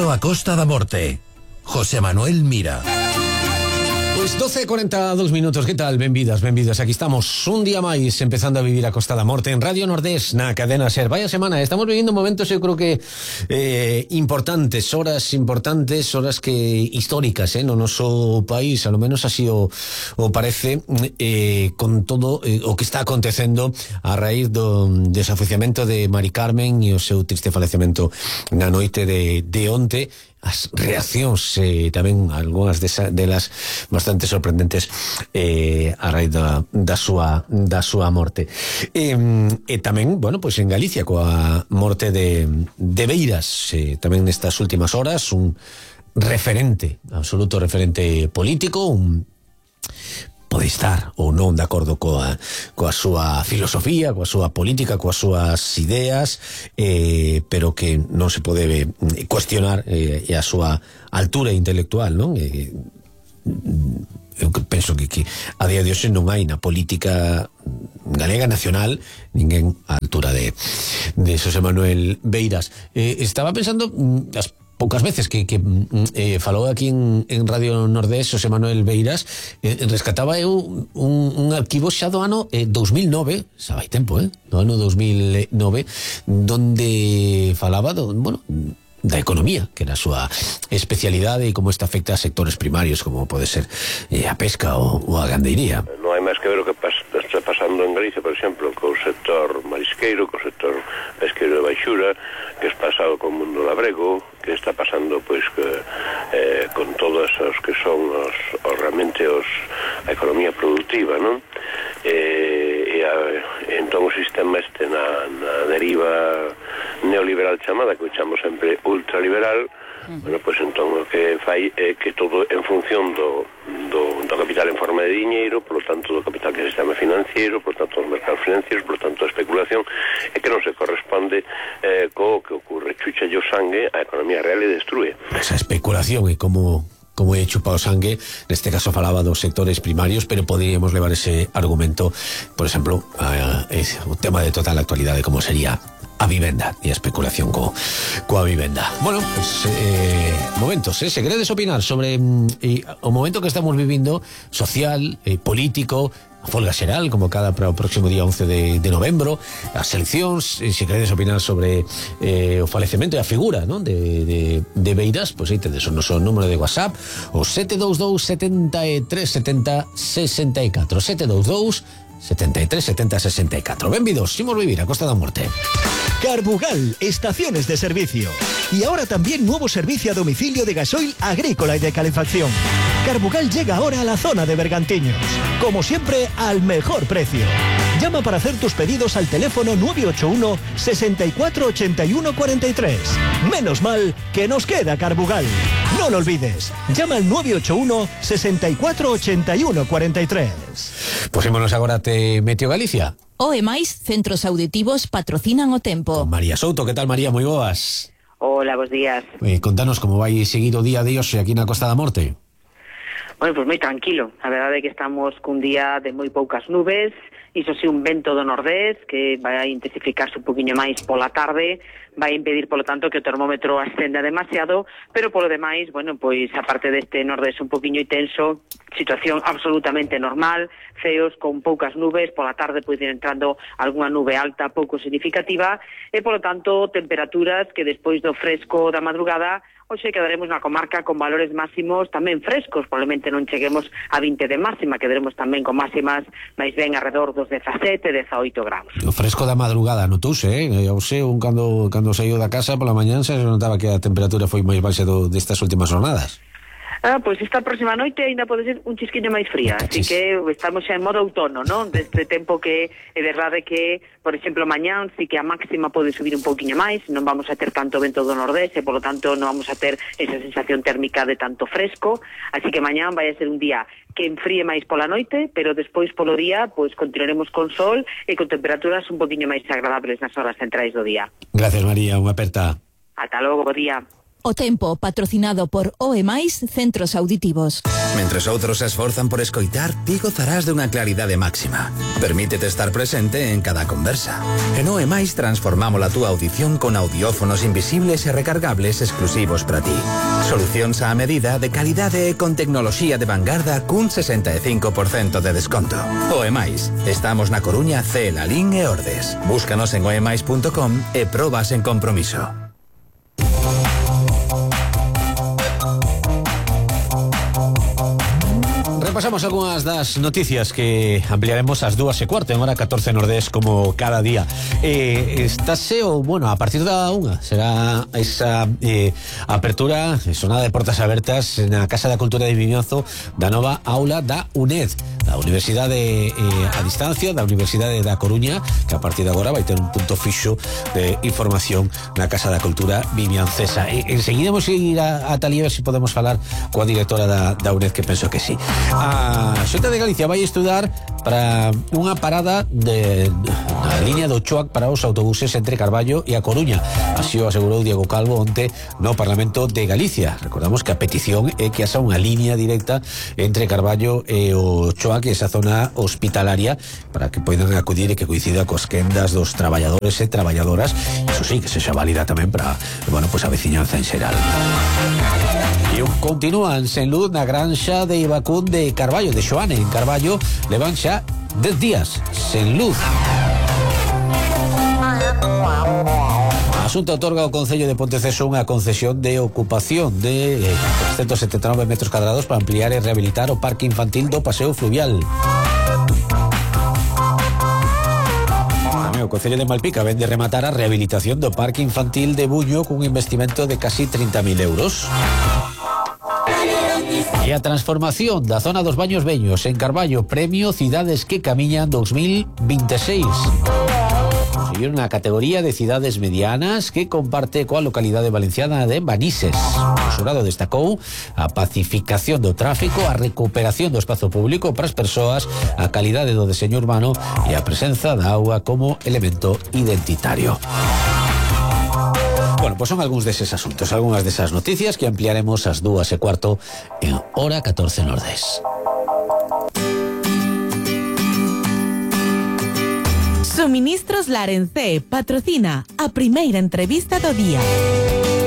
Benvido a Costa da Morte. José Manuel Mira. Pois 12:42 ¿qué tal? Benvidas. Aquí estamos un día máis empezando a vivir a Costa da Morte en Radio Nordés, na cadena SER. Vaya semana, estamos vivindo momentos, eu creo que importantes, horas que históricas, no noso país, a lo menos así o parece, con todo o que está acontecendo a raíz do desafuciamento de Mari Carmen e o seu triste falecemento na noite de onte. As reaccións, tamén algunhas delas bastante sorprendentes a raíz da súa morte. E tamén, bueno, pois en Galicia coa morte de Beiras, tamén nestas últimas horas, un referente, absoluto referente político, pode estar ou non de acordo coa súa filosofía, coa súa política, coas súas ideas, pero que non se pode cuestionar a súa altura intelectual, non? Eu penso que a día de hoxe non hai na política galega nacional ninguén á altura de José Manuel Beiras. Estaba pensando as poucas veces que falou aquí en Radio Nordés José Manuel Beiras, rescataba eu un arquivo xa do ano 2009, xa vai tempo, do ano 2009, donde falaba da economía, que era a súa especialidade e como esta afecta a sectores primarios como pode ser a pesca ou a gandeiría. Non hai máis que ver o que está pasando en Galicia, por exemplo, co sector marisqueiro, co sector pesqueiro de baixura, que está pasado co mundo labrego, que está pasando pois con todos os que son realmente a economía productiva, non? Entón o sistema este na deriva neoliberal chamada, que o chamo sempre ultraliberal, bueno, pois entón o que fai é que todo en función do capital en forma de diñeiro, por lo tanto do capital que é o sistema financiero, por lo tanto dos mercados financieros, por lo tanto a especulación, é que non se corresponde co que ocurre, chucha o sangue a economía real e destrue. Esa especulación e como é chupado sangue, neste caso falaba dos sectores primarios, pero poderíamos levar ese argumento, por exemplo, o tema de total actualidade como sería a vivenda e a especulación coa vivenda. Bueno, pues momentos, se queredes opinar sobre o momento que estamos vivindo, social, político, a folga xeral, como cada para o próximo día 11 de novembro, as eleccións, se queredes opinar sobre o falecemento e a figura, non, de Beiras, pois aí tedes o noso número de WhatsApp, o 722 73 70 64, 722 73 70 64. Benvidos, imos vivir a Costa da Morte. Carbugal, estaciones de servicio. Y ahora también nuevo servicio a domicilio de gasoil agrícola y de calefacción. Carbugal llega ahora a la zona de Bergantiños. Como siempre, al mejor precio. Llama para hacer tus pedidos al teléfono 981 64 81 43. Menos mal que nos queda Carbugal. No lo olvides. Llama al 981 64 81 43. Posémonos agora te Meteo Galicia. O e máis centros auditivos patrocinan o tempo. Con María Souto, que tal, María? Moi boas. Hola, bons días. Contanos como vai seguir o día de hoxe aquí na Costa da Morte. Bueno, pues moi tranquilo. A verdade é que estamos cun día de moi poucas nubes, iso si un vento do nordés que vai a intensificarse un poquinho máis pola tarde, vai impedir, polo tanto, que o termómetro ascenda demasiado, pero polo demais, bueno, pois aparte deste nordés un poquinho intenso, situación absolutamente normal, ceos con poucas nubes, pola tarde pode ir entrando algunha nube alta pouco significativa, e polo tanto temperaturas que despois do fresco da madrugada hoxe quedaremos na comarca con valores máximos tamén frescos, probablemente non cheguemos a 20 de máxima, quedaremos tamén con máximas máis ben alrededor dos 17, 18 graus. O fresco da madrugada notouse, eu sei, cando saiu da casa pola mañán se notaba que a temperatura foi máis baixa destas últimas jornadas. Pois esta próxima noite ainda pode ser un chisquiño máis fría, así que estamos xa en modo outono, non? Deste tempo que é verdade que, por exemplo, mañán sí que a máxima pode subir un pouquiño máis, non vamos a ter tanto vento do nordés e, polo tanto, non vamos a ter esa sensación térmica de tanto fresco, así que mañán vai a ser un día que enfríe máis pola noite, pero despois polo día, pois continuaremos con sol e con temperaturas un pouquiño máis agradables nas horas centrais do día. Gracias, María, unha aperta. Ata logo, bo día. O Tempo, patrocinado por OE+, Centros Auditivos. Mentres outros se esforzan por escoitar, ti gozarás dunha claridade máxima. Permítete estar presente en cada conversa. En OE+, transformamos a túa audición con audiófonos invisibles e recargables exclusivos para ti. Solucións á medida, de calidade e con tecnoloxía de vanguarda cun 65% de desconto. OE+, estamos na Coruña, C, Lalín e Ordes. Búscanos en oemais.com e probas en compromiso. Repasamos algunhas das noticias que ampliaremos ás 2:15 en hora 14 Nordés como cada día. Estáse a partir da 1 será esa apertura, sonada de portas abertas na Casa da Cultura de Vimianzo da nova aula da UNED, da Universidade a distancia da Universidade da Coruña, que a partir de agora vai ter un punto fixo de información na Casa da Cultura vimiancesa. Enseguida vamos a ir a Talía a ver se podemos falar coa directora da UNED, que penso que sí. A Xunta de Galicia vai estudar para unha parada na línea do Choac para os autobuses entre Carballo e a Coruña. Así o asegurou Diego Calvo onte no Parlamento de Galicia. Recordamos que a petición é que haxa unha línea directa entre Carballo e o Choac, esa zona hospitalaria, para que poidan acudir e que coincida cos quendas dos traballadores e traballadoras. Iso sí, que sexa válida tamén para, a veciñanza en xeral. E continúan sen luz na granxa de Ibacún de Carballo, de Xoane, en Carballo, levan xa 10 días sen luz. A Xunta otorga ao Concello de Ponteceso unha concesión de ocupación de 179 metros cadrados para ampliar e rehabilitar o parque infantil do Paseo Fluvial. O Concello de Malpica ven de rematar a rehabilitación do parque infantil de Buño cun investimento de casi 30.000 euros. E a transformación da zona dos Baños Veños en Carballo, premio Cidades que Camiñan 2026. Conseguiron a categoría de cidades medianas que comparte coa localidade valenciana de Manises. O xurado destacou a pacificación do tráfico, a recuperación do espazo público para as persoas, a calidade do deseño urbano e a presenza da auga como elemento identitario. Pues son algúns deses asuntos, algunhas desas noticias que ampliaremos ás 2:15 en hora 14 Nordés. Suministros Larencé patrocina a primeira entrevista do día.